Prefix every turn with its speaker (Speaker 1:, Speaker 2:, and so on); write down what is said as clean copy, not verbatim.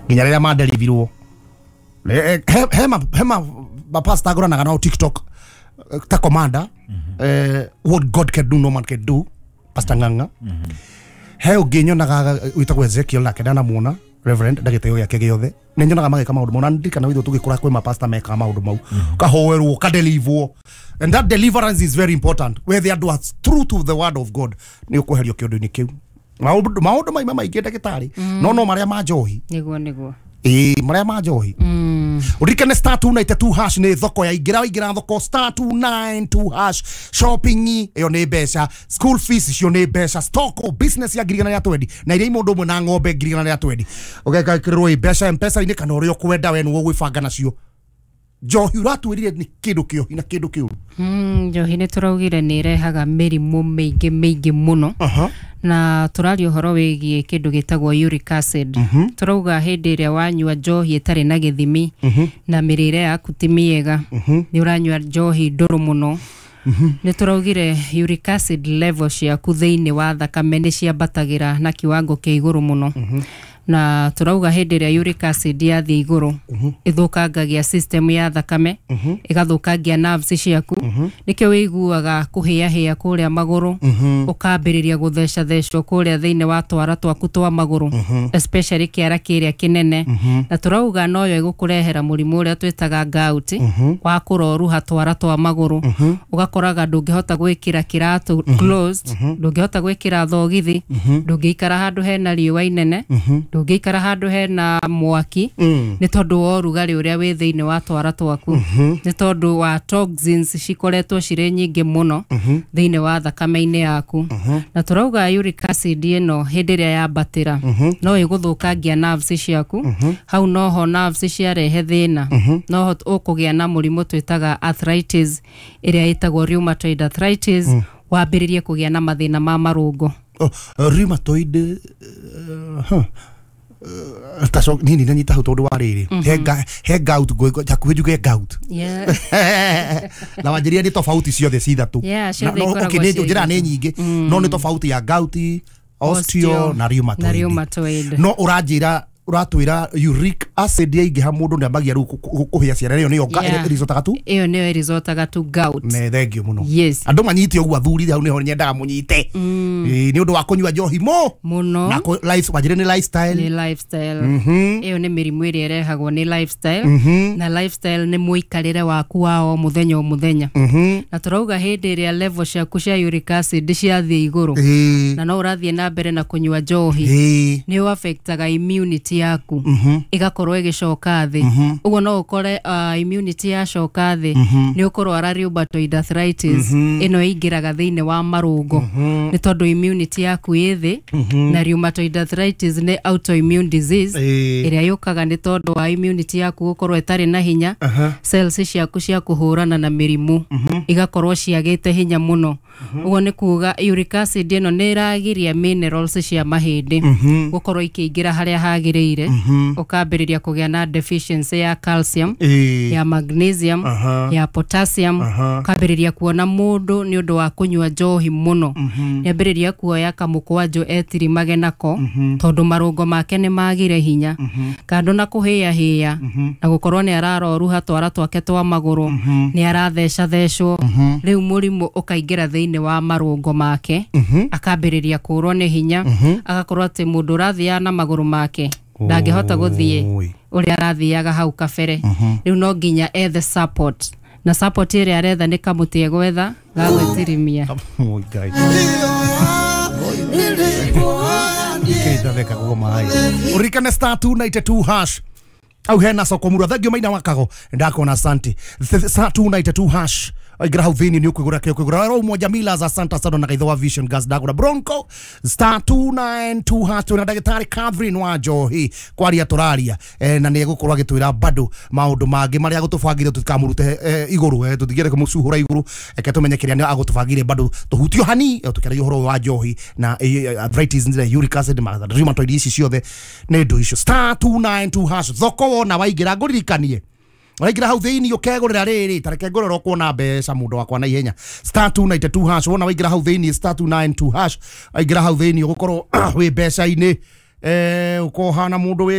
Speaker 1: Nginya rĩrĩa manderivirwo. Hema mapasta agũranaga nao TikTok, ta commander, what God can do no man can do, Pastor Ng'ang'a. He ũngĩ nyonaga wĩtagwo Ezekiel, nake ndanamuona reverend ndagĩtĩo gĩake gĩothe, nĩ nyonaga magĩka maũndũ mau, na ndirikana witũ tũgĩkũra kwĩ mapasta mekaga maũndũ mau, kahoerwo kadelivwo, and that deliverance is very important. Wethe andũ are true to the word of God, nĩ ũkweherio kĩũndũ-inĩ kĩu. Maũndũ maima maingĩ, ndagĩtarĩ, no marĩa ma njohi.
Speaker 2: Nĩguo.
Speaker 1: Ĩĩ, marĩa ma njohi. Ũririkane *292# nĩ thoko ya ingĩra, waingĩra thoko *292# shopping ĩyo nĩ mbeca, school fees icio nĩ mbeca, stock o business ya 120,000 na iria mũndũ ũmwe na ng'ombe 120,000 ũgekĩrĩrwo ĩ mbeca mpesa-inĩ kana ũrĩa ũkwenda, we nĩwe ũgwĩbanga nacio. Njohi ũratwĩrire nĩ kĩndũ kĩohi na kĩndũ kĩũru.
Speaker 2: Njohi nĩ tũraugire nĩ ĩrehaga mĩrimũ mĩingĩ mĩingĩ mũno, na tũraria ũhoro wĩgiĩ kĩndũ gĩtagwo uric acid. Tũrauga hĩndĩ ĩrĩa wanyua njohi ĩtarĩ na gĩthimi na mĩrĩre yaku ti mĩega, nĩ ũranyua njohi ndũrũ mũno, nĩ tũraugire uric acid level ciaku thĩinĩ wa thakame nĩ ciambatagĩra na kiwango kĩa igũrũ mũno. Na tũrauga hĩndĩ ĩrĩa uric acid yathiĩ igũrũ, ĩthũkangagia system ya thakame, ĩgathũkangia nerves ciaku. Nĩkĩo wĩiguaga kũhĩahĩa kũrĩa magũrũ, ũkambĩrĩria gũthecathecwo kũrĩa thĩinĩ wa twara twaku twa magũrũ, especially kĩara kĩrĩa kĩnene. Na tũrauga noyo ĩgũkũrehera mũrimũ ũrĩa twĩtaga gout, wa kũroruha twara twa magũrũ, ũgakoraga ndũngĩhota gwĩkĩra kĩratũ closed, ndũngĩhota gwĩkĩra thogithi, ndũngĩikara handũ hena riũa inene, ndũngĩikara handũ hena mwaki, nĩ tondũ wa ũrugarĩ ũrĩa wĩ thĩinĩ wa twara twaku, nĩ tondũ wa toxins cikoretwo cirĩ nyingĩ mũno thĩinĩ wa thakame-inĩ yaku. Na tũrauga uric acid ĩno hĩndĩ ĩrĩa yambatĩra no ĩgũthũkangia nerves ciaku. Hau noho nerves ciarehe thĩna, noho ũkũgĩa na mũrimũ twĩtaga arthritis, ĩrĩa ĩtagwo rheumatoid arthritis, wambĩrĩrie kũgĩa na mathĩna ma marũngo.
Speaker 1: Oh, rheumatoid, huh. Taco nini nanyita hau tondũ wa rĩrĩ he gout, hakuhĩ njuge gout. Na wanjĩrire nĩ tofauti ciothe ci ithatũ.
Speaker 2: Yeah, ciothe
Speaker 1: No,
Speaker 2: ikoragwo
Speaker 1: okay, nĩ
Speaker 2: ciĩ
Speaker 1: njĩra nĩ
Speaker 2: ithatũ.
Speaker 1: nyingĩ, no nĩ tofauti ya gout, osteo na rheumatoid.
Speaker 2: Na rheumatoid.
Speaker 1: No ũranjĩra, ũratwĩra uric acid yaingĩha, mũndũ nĩ ambagia rĩu kũhĩa ciara, ĩyo nĩyo ĩricotaga tu.
Speaker 2: Ĩyo nĩyo ĩricotaga tu gout.
Speaker 1: Ne thengio mũno.
Speaker 2: Yes.
Speaker 1: Andũ manyite ũguo, athuri, hau nĩho nyendaga mũnyite. Ĩĩ, nĩ ũndũ wa kũnyua njohi mo
Speaker 2: mũno
Speaker 1: na life, wanjĩre nĩ lifestyle.
Speaker 2: Nĩ lifestyle. Ĩyo nĩ mĩrimũ ĩrĩa ĩrehagwo nĩ lifestyle, na lifestyle nĩ mũikarĩre waku wa o mũthenya o mũthenya. Na tũrauga hĩndĩ ĩrĩa level ciaku cia uric acid ciathiĩ igũrũ na no ũrathiĩ na mbere na kũnyua njohi, nĩ ũ affectaga immunity yaku, ĩgakorwo ĩgĩcoka thĩ. Ũguo no ũkore immunity yacoka thĩ, nĩ ũkũrwara rheumatoid arthritis. Ĩno ĩingĩraga thĩinĩ wa marũngo nĩ tondũ immunity yaku ĩ thĩ. Na rheumatoid arthritis nĩ autoimmune disease ĩrĩa yũkaga nĩ tondũ wa immunity yaku gũkorwo ĩtarĩ na hinya, cells ciaku cia kũhũrana na mĩrimũ igakorwo ciagĩte hinya mũno. Ũguo nĩ kuga uric acid ĩno nĩ ĩragiria minerals cia mahĩndĩ gũkorwo ikĩingĩra harĩa hagĩrĩire, ũkambĩrĩria kũgĩa na deficiency ya calcium, ya magnesium, ya potassium. Ũkambĩrĩria kuona mũndũ nĩ ũndũ wa kũnyua njohi mũno nĩambĩrĩria kuoya kamũkwanjũ etirimage nako, tondũ marũngo make nĩ magire hinya. Kando na kũhĩahĩa na gũkorwo nĩ araroruha twara twake twa magũrũ, nĩ arathecathecwo, rĩu mũrimũ ũkaingĩra thĩinĩ wa marũngo make, akambĩrĩria kũrwo nĩ hinya, agakorwo atĩ mũndũ ũrathiaga na magũrũ make ndangĩhota gũthiĩ
Speaker 1: Oi.
Speaker 2: ũrĩa arathiaga hau kabere. Rĩu no nginya ethe support, na support ĩrĩa aretha nĩ kamũtĩ egwetha ga gwĩtirimia.
Speaker 1: Oi, Ngai. Kĩndatheka guo maĩ. Ũririkane *292# au hena soko murwa, thengio maina wakago, ndakona, asante. *292# aingĩra hau thĩinĩ nĩ ũkwĩgũra kĩo kwĩgũra ro moja mila za Santa Sado na gaitho wa Vision Gas ndagũra Bronco *292#. Twĩna ndagĩtarĩ Catherine wa Njohi kwaria tũraria, na nĩ egũkorwo agĩtwĩra bado maũndũ mangĩ marĩa agũtũbangire, tũtikamũrute igũrũ, tũtigere kũmũcuhũra igũrũ, reke tũmenye kĩrĩa nĩ agũtũbangire bado tũhutio hani, tũkĩaragia ũhoro wa njohi na arthritis na uric acid ma rheumatoid, ici ciothe nĩ ndũ icio. *292# thoko wona waingĩra, ngũririkanie waingĩra hau thĩinĩ ũkegũrĩra rĩrĩ, tareke ngũrora ũkuona mbeca mũndũ wakwa na ihenya. *292# wona waingĩra hau thĩinĩ, *292# waingĩra hau thĩinĩ ũgũkorwo wĩ mbeca-inĩ, ũkohana mũndũ wĩ